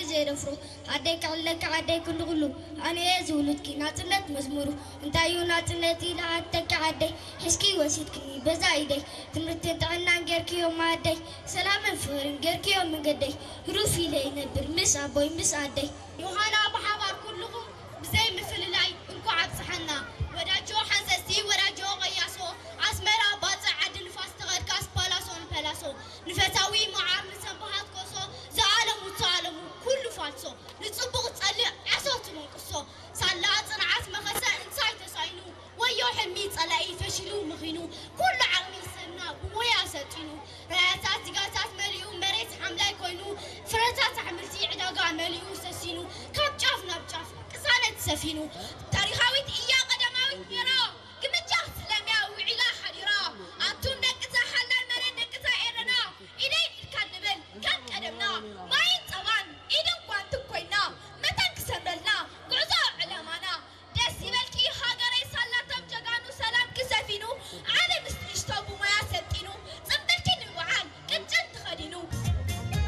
ዘየደፍሮ ዓደይ ክዕለካ ዓደይ ኩሉ ኩሉ ኣነ እየ ዝውሉድኪ ናጽነት መዝሙሩ እንታይ እዩ ናጽነት ኢለ ሓተኪ ዓደይ ሒዝኪ ወሲድክኒ በዛ ኢደይ ትምህርትን ጥዕናን ጌርክዮ ማኣደይ ሰላምን ፍቕርን ጌርክዮ መንገደይ ህሩፍ ኢለ ይነብር ምስ ኣቦይ ምስ ኣደይ ዮሃና ብሓባር ኩልኹም ብዘይ ምፍልላይ እንኳዕ ኣብፅሓና ወዳጆ ሓንሰስቲ ወዳጆ ቀያሶ ኣስመራ ባፅዕ ዓዲ ንፋስ ተቐድካስ ፓላሶ ንፐላሶ ንፈታዊ መዓር ንሰንባሃት ኮሶ ዝኣለሙ ዝኣለሙ ኩሉ ፋልሶ ንፅቡቕ ፀልእ ዓሶ ትመንቅሶ ሳላ ፅንዓት መኸሰ እንታይ ተሳኢኑ ወዮ ሕልሚ ፀላኢ ፈሽሉ ምኺኑ ኩሉ ዓቕሚ ሰብና ብሞያ ሰልጢኑ ራያታት ዚጋታት መሊኡ መሬት ሓምላይ ኮይኑ ፍረታት ኣሕምልቲ ዕዳጋ መሊኡ ሰሲኑ ካብ ጫፍ ናብ ጫፍ ቅሳነት ሰፊኑ ታሪኻዊት እያ ቀዳማዊት ነይራ